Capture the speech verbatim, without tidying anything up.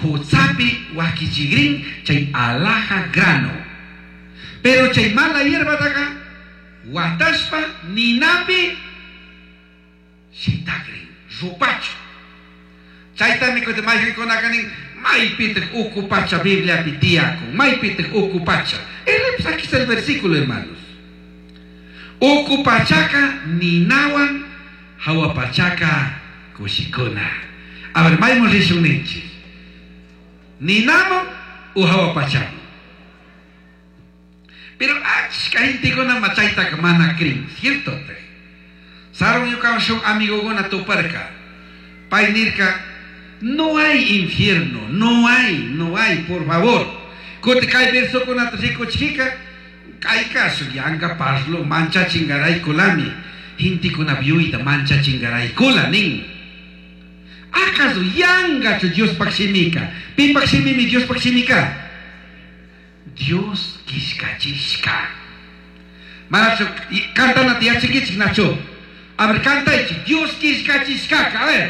Putzapi wakichigrin chay alhaja grano. Pero chay mala hierbataca watashpa ninapi shitagrin, rupachu. Chaytami kutin mayqinkunaka nin maypitaq uku pacha Bibliapi tiyakun, maypitaq uku pacha. Aquí está el versículo, hermanos. Uku pachaka ninawan hawa pachaka kushikuna. A ver, maymun rishun ninchik. Ninaman u hawa pachaman. Pero achka gentekuna chaytaka mana crin, ¿cierto? Sarun ñukawan shuk amigokuna tuparka. Pay nirka, no hay infierno, no hay, no hay, por favor. Kuti kay versokunata rikuchika, kayka shuk yanka parlo manchachingaraykulami. Gentekuna yuyayta manchachingaraykula nin. ¿Acaso yangachu Diospaj shimika? Pipaj shimimi Diospaj shimika? Dios killkachishka. Manachu kantanata yachankichik nachu. A ver, cantaychik. Dios killkachishkaka. A ver.